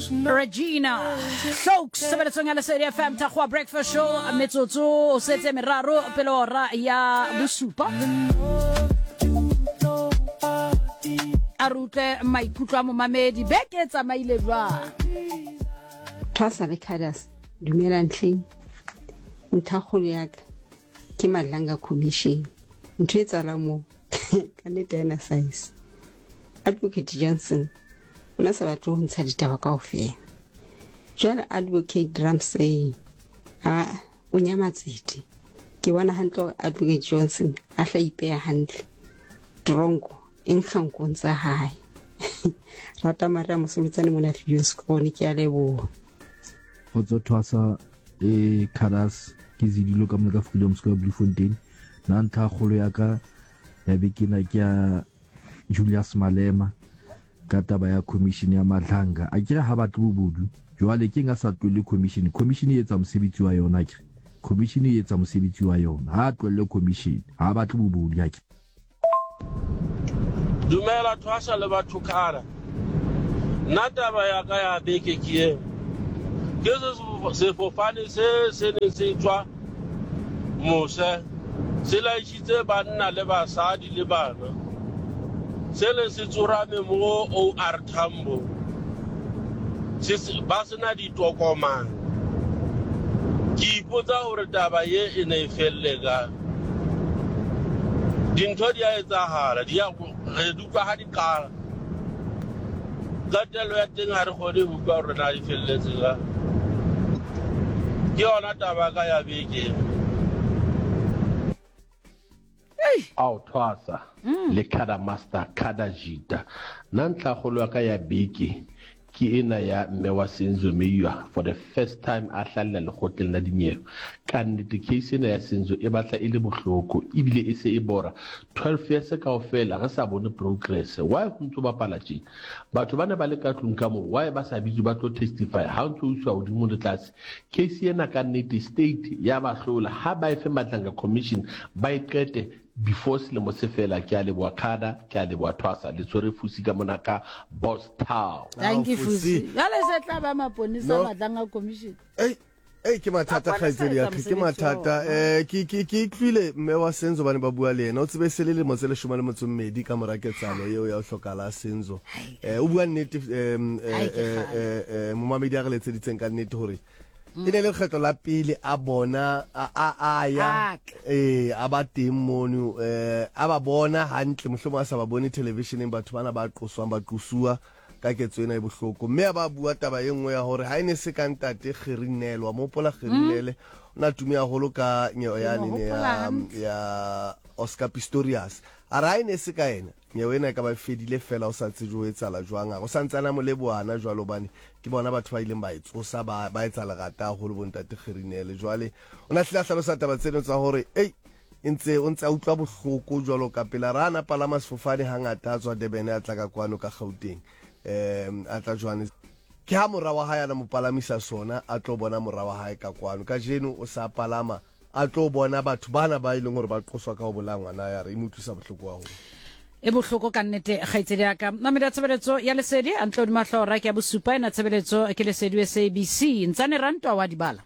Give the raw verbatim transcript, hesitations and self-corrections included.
Regina Stokes tshebeletsong ya Lesedi F M Thakgoa Breakfast Show metsotso o setse meraro pele hora ya bosupa. A re utlwe maikutlo a momamedi beke e tsamaile jwang. Thwasa le Khadas, dumela ntlheng. Ntlhakgolo ya ka ke Madlanga Commission. Ntho e tsalang moo ka nnete ha ena size. Advocate Johnson o ne a sa batle ho ntsha ditaba kaofela. Jwale Advocate Ramsey a o nyamatsete. Ke bona hantle hore Advocate Johnson a hla ipeha hantle. Tronko e nkgankong tsa hae. Rata Maria Mosoletsane mona Viljoenskroon, ke a leboha. Kgotso Thwasa e Khadas, ke Zidilo ka mona ka Freedom Square Bloemfontein. Nna ntlha kgolo ya ka ya beke ena ke ya Julius Malema ka taba ya commission ya Madlanga. A kere ha batle bobodu, jwale ke eng a sa tlohelle commission? Commission e etsa mosebetsi wa yona akere. Commission e etsa mosebetsi wa yona. Ha a tlohelle commission, ha batle bobodu akere. Dumela Thwasa le batho Khara. Nna taba ya ka ya beke ke eo. Ke sefofane se se neng se tswa mose, se laisitse banna le basadi le bana. Se le se tsorame mo O R Tambo. Se ba sena ditokomane. Ke ipotsa hore taba ye e ne e felle ka. Dintho di a etsahala, di a re di utlwa ha di qala. Qetello ya teng ha re kgone ho utlwa hore na di felletse ka. Ke yona taba ka ya beke. Ao Thwasa le Khada Master Khada Jita. Nna ntlhakgolo ya ka ya beke ke ena ya mme wa Senzo Meyiwa for the first time a hlahella lekgotleng la dinyewe. Ka nnete case ena ya Senzo e batla e le bohloko ebile e se e bora. twelve years kaofela re sa bone progress. Why ho ntso bapala tje? Batho ba ne ba le ka tlung ka moo, why ba sa bitswe ba tlo testify ha o ntso iswa hodimo le tlase? Case ena ka nnete state ya ba hlola, ha ba e fe Madlanga Commission ba e qete before selemo se fela. Ke a leboha Khada, ke a leboha Thwasa, le tshwere Fusi ka mona ka Boss Town. Thank you Fusi. Jwale se tla ba maponesa Madlanga Commission. Ei, ei ke mathata kgaitsedi ya ka, ke mathata. Eh ke ke ke utlwile mme wa Senzo bane ba bua le yena. O tsebe se le lemo tse leshome le motso mmedi ka mora ketsahalo eo ya ho hlokala Senzo. Eh o bua nnete eh eh momamedi a re letseditseng ka nnete hore e ne le lekgetlo la pele a bona a a ya eh a ba teng mono, eh a ba bona hantle, mohlomong a sa ba bone televisioneng batho bana ba qoswang ba qosuwa ka ketso ena e bohloko. Mme a ba bua taba e nngwe ya hore ha e ne se ka ntate Gerinele, wa mopola Gerinele o na tume haholo ka nyewe ya nene ya ya Oscar Pistorius. A re ha e ne se ka ena nyewe ena e ka ba fedile fela, o sa tsebe ho etsahala jwang. A go santsana mo lebohana jwalo hobane ke bona batho ba ileng ba e tsosa ba ba etsa lerata haholo bo ntate Gerinele. Jwale o na hlile a hlalosa taba tseno tsa hore ei e ntse o ntse a utlwa bohloko jwalo ka pela ra na palama sefofane hangata a tswa Durban a tla ka kwano ka Gauteng, um a tla Johannes. Ke ha mora wa hae a na mo palamisa sona, a tlo bona mora wa hae ka kwano. Kajeno o sa palama a tlo bona batho bana ba e leng hore ba qoswa ka ho bolaya ngwana ya re e mo utlwisa bohloko haholo. E bohloko ka nnete kgaitsedi ya ka. Mamedi ya tshebeletso ya Lesedi a ntlo hodima hlooho ra ke ya bosupa ena tshebeletso ke Lesedi S A B C. Ntsane Rantwa wa di bala.